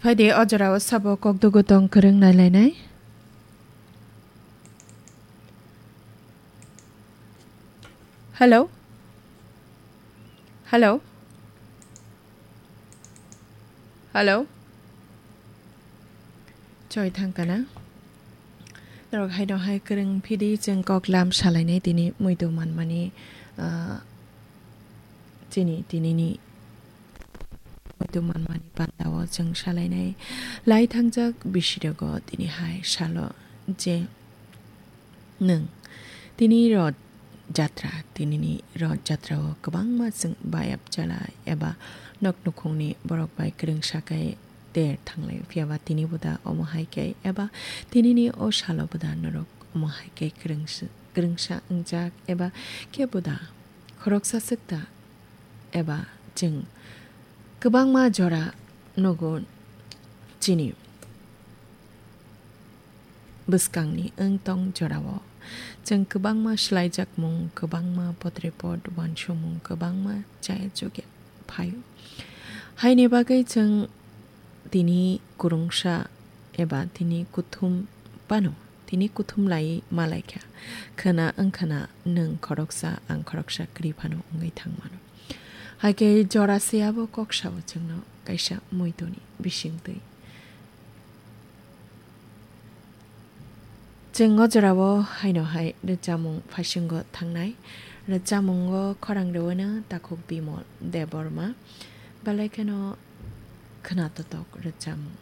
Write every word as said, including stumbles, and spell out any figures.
Phaidi o jorao sabo kokdugu tong kwrwng nailainai. Hello? Hello? Hello? Choi thangkana. Norok haino hai kwrwng phidi chwng kok lam salainai tini muitu manmani, ah, chini tinini muitu manmani pandao chwng salainai. Lai thangjak bisirogo tini hai salo je nwng tini Roth Jatra, tinini Roth Jatra o kwbangma chwng bayap chala eba nok nukhungni borok bai kwrwngsa khe ter thanglai, phiyaba tini boda omo hai khe eba tinini o salo boda norok omo hai khe kwrwngsa, kwrwngsa wngjak eba khe boda khoroksa swk ta eba chwng kwbangma jora nugo chini bwskangni wng tong jorao. Chwng kwbangma swlaijakmung, kwbangma potrepot uansukmung, kwbangma chaya chugya phaio. Haini bagwi chwng tini kwrwngsa eba tini kuthum phano, tini kuthum lai malaikha. Khwna wngkhana nwng khoroksa, ang khoroksa kwrwi phano wngwi thangmano. Haikhe jora se abo kok sao chwngno kaisa muituni bisingtwi. Chwng o jorao haino hai rwchapmung phaisingo thangnai. Rwchapmungo khorang rwino takhuk Bimol Debbarma. Belai kheno khwnatotok rwchapmung.